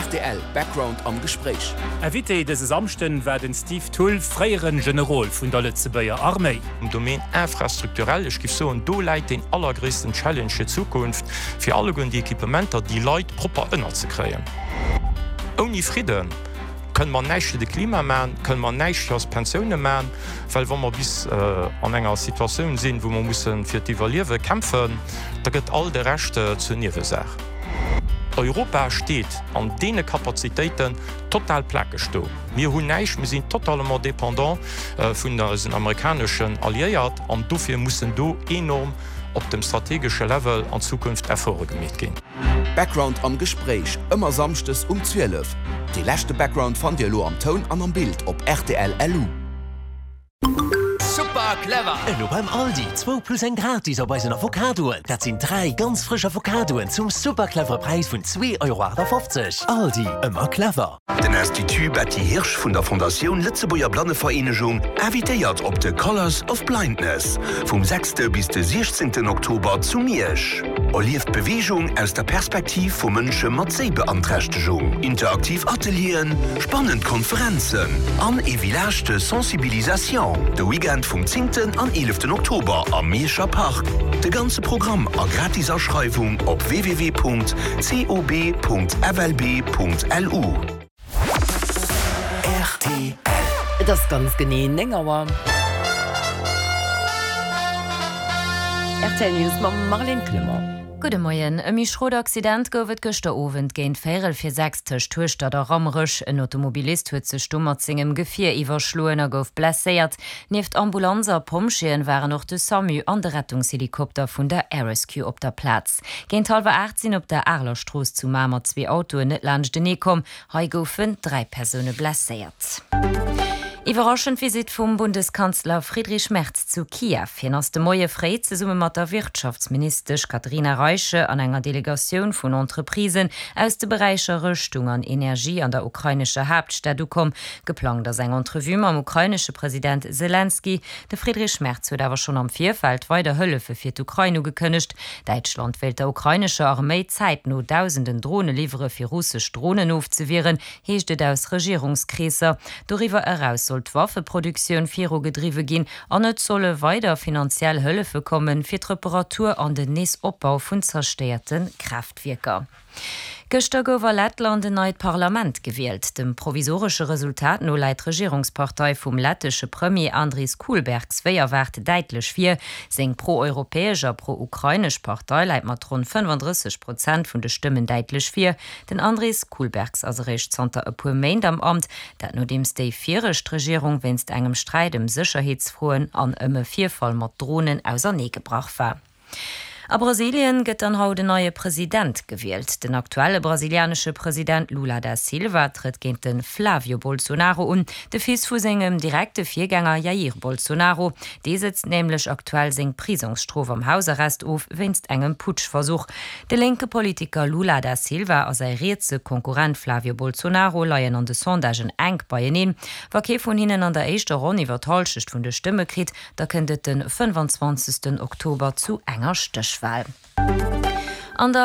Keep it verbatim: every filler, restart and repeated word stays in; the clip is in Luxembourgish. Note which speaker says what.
Speaker 1: Rtl, Background am Gespréich.
Speaker 2: Invité dëse Samschden war den Steve Thull, fréiere Generol vun der Lëtzebuerger Arméi.
Speaker 3: Am Domaine infrastrukturell, ech géif soen, do läit den allergréissten Challenge fir d'Zukunft, fir alleguerten déi Equipementer, déi Leit propper ënnerzekréien. Ouni Fridden kënne mer näischt fir de Klima maachen, kënne mer näischt fir eis Pensioune maachen, well wa mer bis an enger Situatioun sinn, wou mer musse fir d'Iwwerliewe kämpfen, da gëtt all de Rescht zur Niewesaach. Europa steet an deene Kapazitéiten total plakeg do. Mir hunn näischt, mir sinn totalement dépendant vun eisen amerikaneschen Alliéiert an dofir mussen do enorm op dem strategesche Level an Zukunft Efforte gemeet ginn.
Speaker 1: Background am Gespréich, ëmmer samschdes um zwielef. Dee leschte Background fannt Dir elo am Toun an am Bild op rtl L U.
Speaker 4: Super clever!
Speaker 5: Elo beim Aldi, zwou plus eng gratis op eisen Avocadoen. Dat sinn dräi ganz frësch Avocadoen zum super clevere Präis vun zwee Euro aachtafofzeg. Aldi, ëmmer clever.
Speaker 6: Den Institut Betty Hirsch vun der Fondatioun Lëtzebuerger Blannevereenegung invitéiert op de Colors of Blindness vum sechste bis de siechzéngten Oktober zu Miersch. Erlieft Beweegung aus der Perspektiv vu Mënsche mat Séibeanträchtegung. Interaktiv Atelieren, spannend Konferenzen an e Village de Sensibilisation. De Weekend vum zéngten an eeleften Oktober am Mierscher Park. De ganze Programm a gratis Aschreiwung op w w w Punkt c o b Punkt f l b Punkt l u.
Speaker 7: R T L. Et ass ganz genee néng Auer. R T L News mam Marlène Clement.
Speaker 8: Gudde Moien. E méi schrot Accident gouf et gëschter Owend géint véierel vir sechs tëscht Hueschtert a Rammerech. En Automobilist huet sech do mat sengem Gefier iwwerschloen a gouf blesséiert. Nieft Ambulanz a Pompjeeën waren och de SAMU an de Rettungshelikopter vun der Air Rescue op der Plaz. Géint hallwer aacht sinn op der Areler Strooss zu Mamer zwee Autoen net laanschtenee komm. Hei goufen dräi Persoune blesséiert. Iwwerraschend Visitt vum Bundeskanzler Friedrich Merz zu Kiew. Hien ass de Moie fréi zesumme mat der Wirtschaftsministesch Katharina Reiche an enger Delegatioun vun Entreprisen aus de Beräicher Rëschtung an Energie an der ukrainescher Haaptstad ukomm. Geplangt ass eng Entrevue mam ukrainesche President Selenskyj. De Friedrich Merz huet awer schonn am Virfeld weider Hëllefe fir d'Ukrain ugekënnegt. Däitschland wéilt der ukrainescher Arméi zäitno dausenden Drone liwwere fir russesch Dronen ofzewieren, heescht et aus Regierungskreesser. Doriwwer eraus soll d'Waffeproduktioun virugedriwwe ginn an et solle weider finanziell Hëllefe kommen, fir d'Reparatur an den Neesopbau vun zerstéierte Kraaftwierker. Gëschter gouf a Lettland en neit Parlament gewielt. Dem provisoresche Resultat no läit d'Regierungspartei vum lettesche Premier Andris Kulbergs wéi erwaart däitlech vir. Seng pro-europäesch a pro-ukrainesch Partei läit mat ronn fënnefandrësseg Prozent vun de Stëmmen däitlech vir. Den Andris Kulbergs ass eréischt zanter e puer Méint am Amt, dat nodeems déi viregt Regierung wéinst engem Sträit ëm Sécherheetsfroen an ëm e Virfall mat Dronen auserneegebrach war. A Brasilien gëtt dann haut en neie President gewielt. Den aktuelle brasilianesche President Lula da Silva trëtt géint de Flavio Bolsonaro un, de Fils vu sengem direkte Virgänger Jair Bolsonaro. Dee sëtzt nämlech aktuell seng Prisongsstrof am Hausarrest of wéinst engem Putschversuch. De lénke Politiker Lula da Silva a säi rietse Konkurrent Flavio Bolsonaro leien an de Sondagen enk beieneen. Wa kee vun hinnen an der éischter Ronn iwwer d'Hallschecht vun de Stëmme kritt, da kënnt et de fënnefanzwanzegsten Oktober zu enger Stéchwal. An der